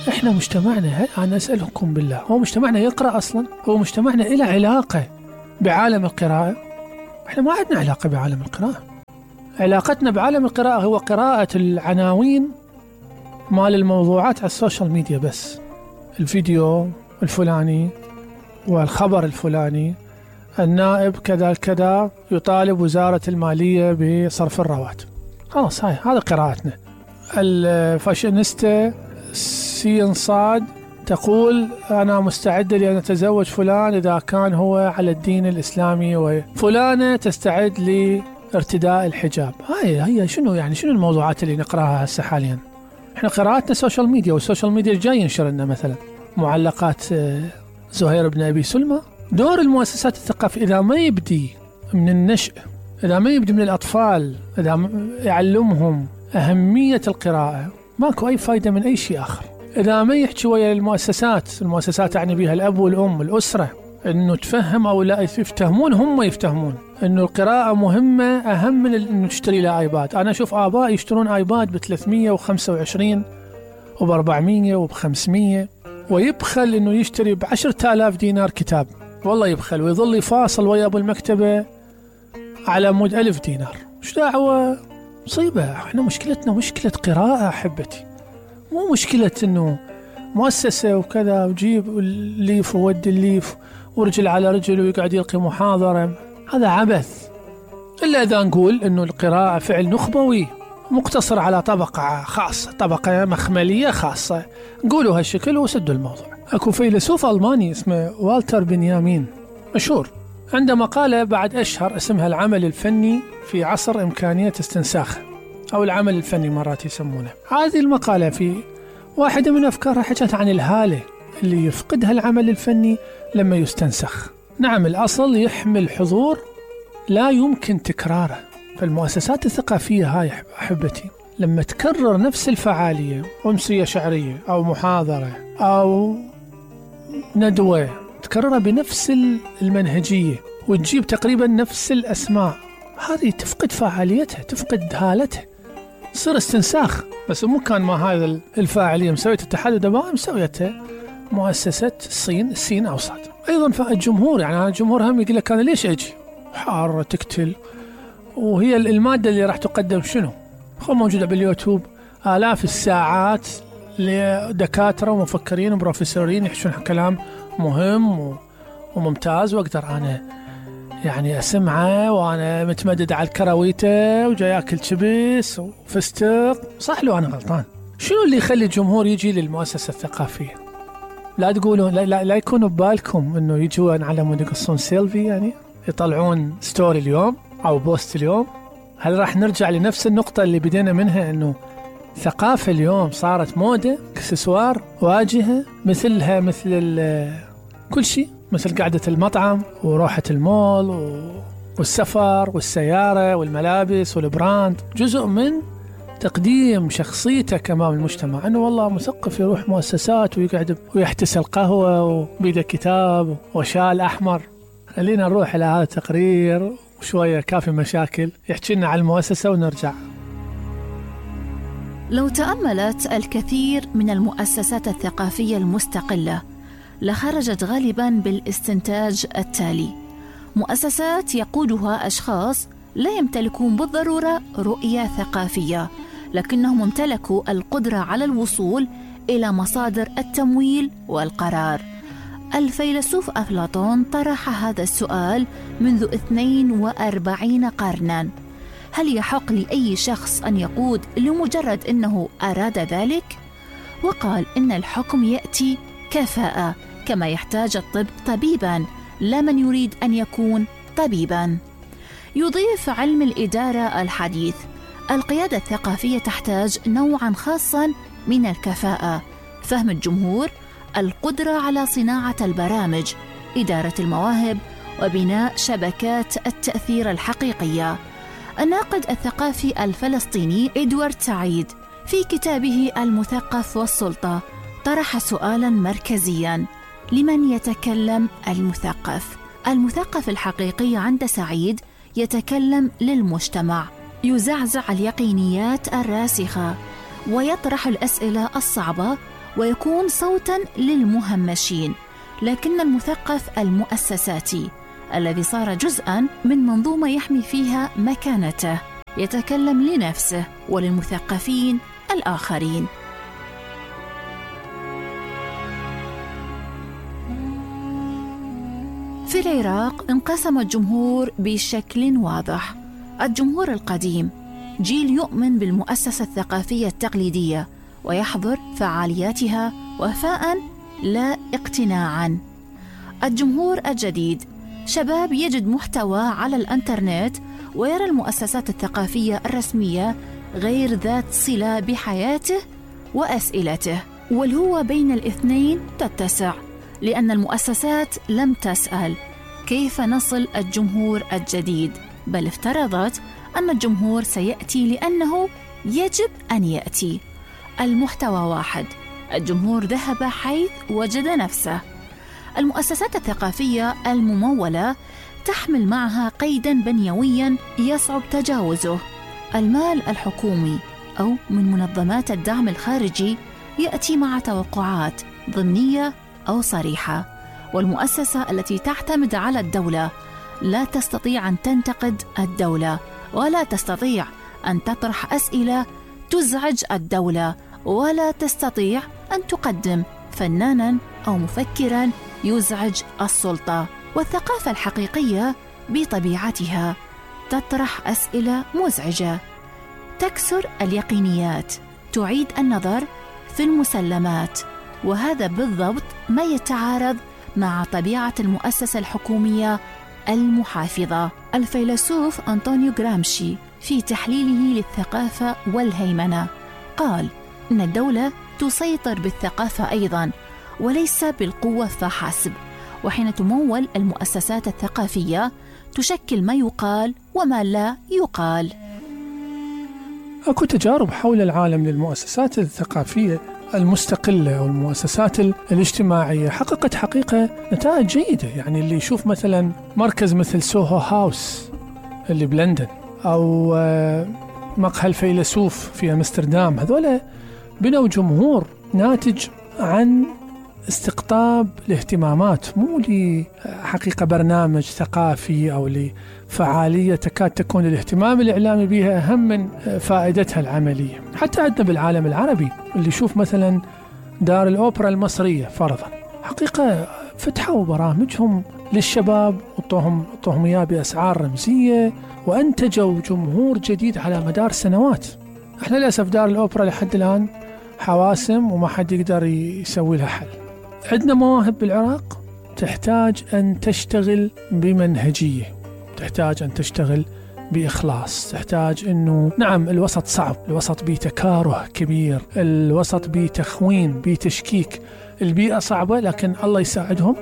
إحنا مجتمعنا، أنا أسألكم بالله، هو مجتمعنا يقرأ أصلا؟ هو مجتمعنا إله علاقة بعالم القراءة؟ إحنا ما عندنا علاقة بعالم القراءة. علاقتنا بعالم القراءة هو قراءة العناوين مال الموضوعات على السوشيال ميديا بس، الفيديو الفلاني والخبر الفلاني، النائب كذا كذا يطالب وزارة المالية بصرف الرواتب، خلاص هذا قراءتنا. الفاشينيستا سين صاد تقول أنا مستعدة لأن أتزوج فلان إذا كان هو على الدين الإسلامي، وفلانة تستعد لارتداء الحجاب. هي شنو يعني، شنو الموضوعات اللي نقراها هسه حاليا؟ احنا قراءتنا سوشيال ميديا، والسوشيال ميديا جاي ينشر لنا مثلا معلقات زهير بن أبي سلمى. دور المؤسسات الثقافية إذا ما يبدي من النشء، إذا ما يبدي من الأطفال، إذا يعلمهم أهمية القراءة، ماكو أي فايدة من أي شيء آخر. إذا ما يحكي ويا المؤسسات يعني بها الأب والأم الأسرة، إنه تفهم أو لا يفتهمون، هم يفتهمون إنه القراءة مهمة أهم من إنه تشتري له آيباد. أنا أشوف آباء يشترون آيباد ب325 وب400 وب500، ويبخل إنه يشتري ب10,000 دينار كتاب، والله يبخل، ويظل يفاصل ويا أبو المكتبة على مود 1000 دينار. مش دعوة، مصيبة. احنا مشكلتنا مشكلة قراءة أحبتي، مو مشكلة إنه مؤسسة وكذا وجيب الليف وودي الليف ورجل على رجل ويقعد يلقي محاضرة. هذا عبث. إلا إذا نقول إنه القراءة فعل نخبوي مقتصر على طبقة خاصة، طبقة مخملية خاصة، نقولوا هالشكل وسدوا الموضوع. أكو فيلسوف ألماني اسمه والتر بنيامين مشهور، عنده مقالة بعد أشهر اسمها العمل الفني في عصر إمكانية استنساخه، أو العمل الفني مرات يسمونه. هذه المقالة في واحدة من أفكارها حكت عن الهالة اللي يفقدها العمل الفني لما يستنسخ. نعم، الأصل يحمل حضور لا يمكن تكراره. فالمؤسسات الثقافية هاي أحبتي لما تكرر نفس الفعالية، أمسية شعرية أو محاضرة أو ندوة، تكررها بنفس المنهجية وتجيب تقريبا نفس الأسماء، هذه تفقد فعاليتها، تفقد هالتها، يصير استنساخ. بس مو كان ما هذا الفاعلية مسوية الاتحاد الدولي، مسويتها مؤسسة الصين أوسط. أيضا فالجمهور، يعني الجمهور هم يقول لك أنا ليش أجي حارة تقتل، وهي المادة اللي راح تقدم شنو؟ موجودة باليوتيوب آلاف الساعات لدكاترة ومفكرين وبروفيسورين يحشون كلام مهم وممتاز، وأقدر أنا يعني أسمعه وأنا متمدد على الكراويته وجاي أكل شبس وفستق. صح لو أنا غلطان؟ شنو اللي يخلي الجمهور يجي للمؤسسة الثقافية؟ لا تقولون لا يكونوا ببالكم إنه يجون على مود يقصون سيلفي، يعني يطلعون ستوري اليوم أو بوست اليوم. هل راح نرجع لنفس النقطة اللي بدينا منها، إنه ثقافة اليوم صارت موضة، اكسسوار، واجهة، مثل كل شيء، مثل قعدة المطعم وروحة المول والسفر والسيارة والملابس والبراند، جزء من تقديم شخصيتك أمام المجتمع، أنه والله مثقف يروح مؤسسات ويقعد ويحتسي القهوة وبيده كتاب وشال أحمر. خلينا نروح إلى هذا التقرير وشوية كافي مشاكل يحكي لنا على المؤسسة ونرجع. لو تأملت الكثير من المؤسسات الثقافية المستقلة لخرجت غالباً بالاستنتاج التالي: مؤسسات يقودها أشخاص لا يمتلكون بالضرورة رؤية ثقافية، لكنهم امتلكوا القدرة على الوصول إلى مصادر التمويل والقرار. الفيلسوف أفلاطون طرح هذا السؤال منذ 42 قرناً: هل يحق لأي شخص أن يقود لمجرد أنه أراد ذلك؟ وقال إن الحكم يأتي كفاءة، كما يحتاج الطب طبيباً، لا من يريد أن يكون طبيباً. يضيف علم الإدارة الحديث: القيادة الثقافية تحتاج نوعاً خاصاً من الكفاءة، فهم الجمهور، القدرة على صناعة البرامج، إدارة المواهب، وبناء شبكات التأثير الحقيقية. الناقد الثقافي الفلسطيني إدوارد سعيد في كتابه المثقف والسلطة طرح سؤالاً مركزياً: لمن يتكلم المثقف؟ المثقف الحقيقي عند سعيد يتكلم للمجتمع، يزعزع اليقينيات الراسخة ويطرح الأسئلة الصعبة ويكون صوتا للمهمشين، لكن المثقف المؤسساتي الذي صار جزءا من منظومة يحمي فيها مكانته يتكلم لنفسه وللمثقفين الآخرين. في العراق انقسم الجمهور بشكل واضح. الجمهور القديم جيل يؤمن بالمؤسسة الثقافية التقليدية ويحضر فعالياتها وفاء لا اقتناعا. الجمهور الجديد شباب يجد محتوى على الانترنت ويرى المؤسسات الثقافية الرسمية غير ذات صلة بحياته وأسئلته، والهوة بين الاثنين تتسع، لأن المؤسسات لم تسأل كيف نصل الجمهور الجديد، بل افترضت أن الجمهور سيأتي لأنه يجب أن يأتي. المحتوى واحد، الجمهور ذهب حيث وجد نفسه. المؤسسات الثقافية الممولة تحمل معها قيداً بنيوياً يصعب تجاوزه. المال الحكومي أو من منظمات الدعم الخارجي يأتي مع توقعات ضمنية أو صريحة، والمؤسسة التي تعتمد على الدولة لا تستطيع أن تنتقد الدولة، ولا تستطيع أن تطرح أسئلة تزعج الدولة، ولا تستطيع أن تقدم فناناً أو مفكراً يزعج السلطة. والثقافة الحقيقية بطبيعتها تطرح أسئلة مزعجة، تكسر اليقينيات، تعيد النظر في المسلمات، وهذا بالضبط ما يتعارض مع طبيعة المؤسسة الحكومية المحافظة. الفيلسوف أنطونيو غرامشي في تحليله للثقافة والهيمنة قال إن الدولة تسيطر بالثقافة أيضاً وليس بالقوة فحسب، وحين تمول المؤسسات الثقافية تشكل ما يقال وما لا يقال. أكو تجارب حول العالم للمؤسسات الثقافية المستقلة أو المؤسسات الاجتماعية حققت حقيقة نتائج جيدة. يعني اللي يشوف مثلا مركز مثل سوهو هاوس اللي بلندن، أو مقهى الفيلسوف في أمستردام، هذولا بنوا جمهور ناتج عن استقطاب الاهتمامات، مو لحقيقة برنامج ثقافي أو لفعالية تكاد تكون الاهتمام الإعلامي بها أهم من فائدتها العملية. حتى عندنا بالعالم العربي اللي يشوف مثلا دار الأوبرا المصرية فرضا، حقيقة فتحوا برامجهم للشباب وطوهم إياه بأسعار رمزية، وأنتجوا جمهور جديد على مدار سنوات. احنا للأسف دار الأوبرا لحد الآن حواسم وما حد يقدر يسوي لها حل. عندنا مواهب بالعراق تحتاج أن تشتغل بمنهجية، تحتاج أن تشتغل بإخلاص، تحتاج أنه نعم الوسط صعب، الوسط بيه تكاره كبير، الوسط بيه تخوين، بيه تشكيك، البيئة صعبة، لكن الله يساعدهم.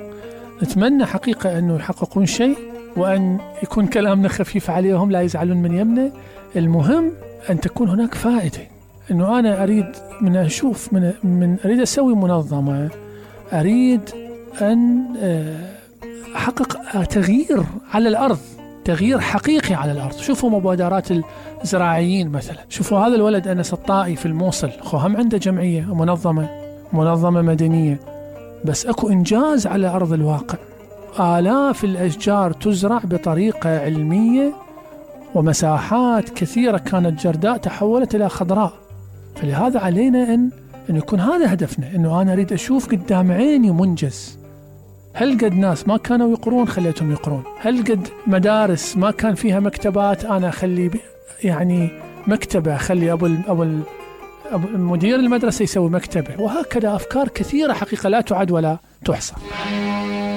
نتمنى حقيقة أنه يحققون شيء، وأن يكون كلامنا خفيف عليهم، لا يزعلون من يمنا. المهم أن تكون هناك فائدة. أنه أنا أريد من أشوف من أريد أسوي منظمة، أريد أن أحقق تغيير على الأرض، تغيير حقيقي على الأرض. شوفوا مبادرات الزراعيين مثلا، شوفوا هذا الولد أنس الطائي في الموصل، هم عنده جمعية منظمة مدنية، بس أكو إنجاز على أرض الواقع. آلاف الأشجار تزرع بطريقة علمية، ومساحات كثيرة كانت جرداء تحولت إلى خضراء. فلهذا علينا أن يكون هذا هدفنا، أنه أنا أريد أشوف قدام عيني منجز. هل قد ناس ما كانوا يقرون خليتهم يقرون؟ هل قد مدارس ما كان فيها مكتبات أنا أخلي يعني مكتبة، أخلي أبو مدير المدرسة يسوي مكتبة؟ وهكذا أفكار كثيرة حقيقة لا تعد ولا تحصى.